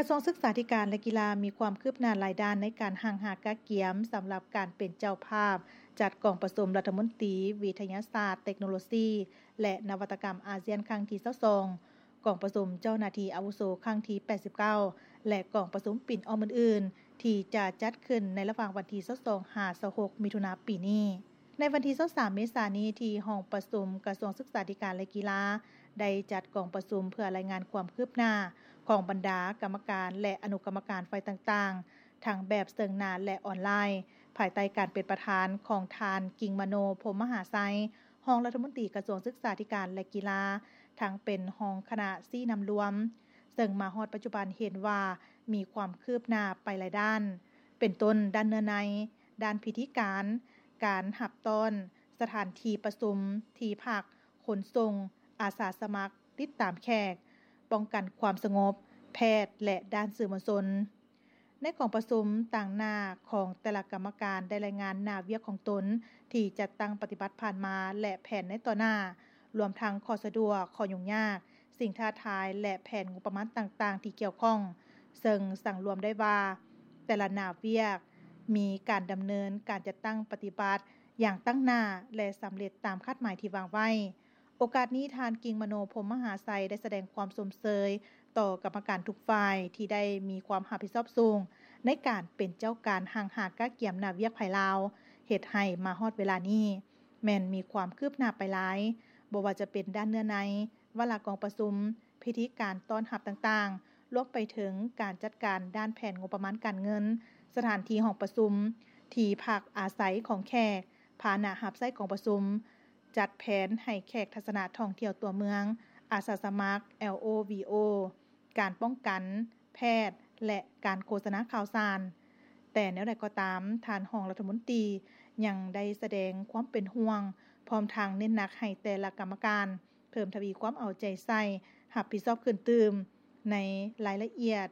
ກະຊວງສຶກສາທິການ ແລະ ກິລາ ມີຄວາມຄືບໜ້າຫຼາຍດ້ານໃນການຮັ່ງຫາກະກຽມ ສຳລັບການເປັນເຈົ້າພາບ ຈັດກອງປະຊຸມລັດຖະມົນຕີວິທະຍາສາດ, ເຕັກໂນໂລຊີ ແລະ ນະວັດຕະກຳອາຊຽນ ຄັ້ງທີຊາວສອງ, ກອງປະຊຸມເຈົ້າໜ້າທີ່ອາວຸໂສ ຄັ້ງທີແປດສິບເກົ້າ ແລະ ກອງປະຊຸມປິ່ນອ້ອມອື່ນໆ ທີ່ຈະຈັດຂຶ້ນໃນລະຫວ່າງວັນທີຊາວສອງ ຫາ ຊາວຫົກ ມິຖຸນາປີນີ້. ໃນວັນທີຊາວສາມ ເມສານີ້ ທີ່ຫ້ອງປະຊຸມກະຊວງສຶກສາທິການ ແລະ ກິລາ ໄດ້ຈັດກອງປະຊຸມເພື່ອລາຍງານຄວາມຄືບໜ້າຂອງບັນດາກຳມະການ ແລະ ອະນຸກຳມະການຝ່າຍຕ່າງໆ ທັງແບບເຊິ່ງໜ້າ ແລະ ອອນລາຍ, ພາຍໃຕ້ການເປັນປະທານຂອງທ່ານ ກິ່ງມະໂນ ພົມມະຫາໄຊ, ຮອງລັດຖະມົນຕີກະຊວງສຶກສາທິການ ແລະ ກິລາ, ທັງເປັນຮອງຄະນະຊີ້ນຳລວມ, ເຊິ່ງມາຮອດປັດຈຸບັນເຫັນວ່າມີຄວາມຄືບໜ້າໄປຫຼາຍດ້ານ, ເປັນຕົ້ນດ້ານເນື້ອໃນ, ດ້ານພິທີການ, ການຮັບຕ້ອນ, ສະຖານທີ່ປະຊຸມ, ທີ່ພັກ, ຂົນສົ່ງ, ອາສາສະໝັກ, ຕິດຕາມແຂກ, ປ້ອງກັນຄວາມສະຫງົບ, ແພດ ແລະ ດ້ານສື່ມວນຊົນ. ໃນກອງປະຊຸມ, ຕາງໜ້າຂອງແຕ່ລະກຳມະການໄດ້ລາຍງານໜ້າວຽກຂອງຕົນທີ່ຈັດຕັ້ງປະຕິບັດຜ່ານມາ ແລະ ແຜນໃນຕໍ່ໜ້າ, ລວມທັງຂໍ້ສະດວກ, ຂໍ້ຫຍຸ້ງຍາກ, ສິ່ງທ້າທາຍ ແລະ ແຜນງົບປະມານຕ່າງໆທີ່ກ່ຽວຂ້ອງ, ເຊິ່ງສັງລວມໄດ້ວ່າ ແຕ່ລະໜ້າວຽກມີການດຳເນີນການຈັດຕັ້ງປະຕິບັດຢ່າງຕັ້ງໜ້າ ແລະ ສຳເລັດຕາມຄາດໝາຍທີ່ວາງໄວ້. ໂອກາດນີ້, ທ່ານ ກິ່ງມະໂນ ພົມມະຫາໄຊ ໄດ້ສະແດງຄວາມຊົມເຊີຍຕໍ່ກຳມະການທຸກຝ່າຍທີ່ໄດ້ມີຄວາມຮັບຜິດຊອບສູງໃນການເປັນເຈົ້າການຮັ່ງຫາກະກຽມໜ້າວຽກໃຜລາວ, ເຮັດໃຫ້ມາຮອດເວລານີ້ ແມ່ນມີຄວາມຄືບໜ້າໄປຫຼາຍ, ບໍ່ວ່າຈະເປັນດ້ານເນື້ອໃນ, ວາລະກອງປະຊຸມ, ພິທີການຕ້ອນຮັບຕ່າງໆ, ລວມໄປເຖິງການຈັດການດ້ານແຜນງົບປະມານການເງິນ, ສະຖານທີ່ຫ້ອງປະຊຸມ, ທີ່ພັກອາໄສຂອງແຂກ, ພາຫະນະຮັບໃຊ້ກອງປະຊຸມ, ຈັດແຜນໃຫ້ແຂກທັດສະນະທ່ອງທ່ຽວຕົວເມືອງ, ອາສາສະໝັກ ແອລ ໂອ ວີ ໂອ, ການປ້ອງກັນ, ແພດ ແລະ ການໂຄສະນາຂ່າວສານ. ແຕ່ແນວໃດກໍຕາມ, ທ່ານຮອງລັດຖະມົນຕີຍັງໄດ້ສະແດງຄວາມເປັນຫ່ວງ, ພ້ອມທັງເນັ້ນໜັກໃຫ້ແຕ່ລະກຳມະການເພີ່ມທະວີຄວາມເອົາໃຈໃສ່, ຮັບຜິດຊອບຂຶ້ນຕື່ມໃນລາຍລະອຽດ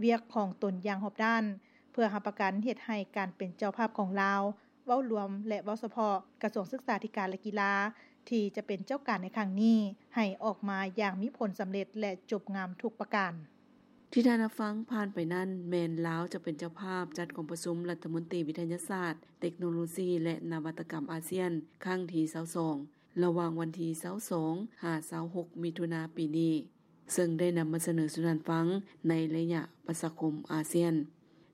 ວຽກຂອງຕົນຢ່າງຮອບດ້ານ, ເພື່ອຮັບປະກັນເຮັດໃຫ້ການເປັນເຈົ້າພາບຂອງລາວ ເວົ້າລວມ ແລະ ເວົ້າສະເພາະ ກະຊວງສຶກສາທິການ ແລະ ກິລາ ທີ່ຈະເປັນເຈົ້າການໃນຄັ້ງນີ້ ໃຫ້ອອກມາຢ່າງມີຜົນສຳເລັດ ແລະ ຈົບງາມທຸກປະການ. ທີ່ທ່ານຮັບຟັງຜ່ານໄປນັ້ນ ແມ່ນລາວຈະເປັນເຈົ້າພາບຈັດກອງປະຊຸມລັດຖະມົນຕີວິທະຍາສາດ, ເຕັກໂນໂລຊີ ແລະ ນະວັດຕະກຳອາຊຽນ ຄັ້ງທີຊາວສອງ ລະຫວ່າງວັນທີຊາວສອງ ຫາ ຊາວຫົກ ມິຖຸນາປີນີ້. ເຊິ່ງໄດ້ນຳມາສະເໜີສູ່ທ່ານຟັງໃນໄລຍະປະຊາຄົມອາຊຽນ.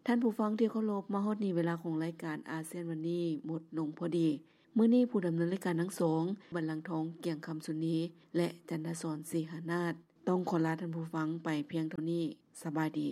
ທ່ານຜູ້ຟັງທີ່ເຄົາລົບ, ມາຮອດນີ້ເວລາຂອງລາຍການອາຊຽນວັນນີ້ໝົດລົງພໍດີ. ມື້ນີ້ຜູ້ດຳເນີນລາຍການທັງສອງ, ບັນລັງທອງ ກຽງຄຳສຸນີ ແລະ ຈັນທະສອນ ສີຫານາດ, ຕ້ອງຂໍລາທ່ານຜູ້ຟັງໄປພຽງເທົ່ານີ້. ສະບາຍດີ.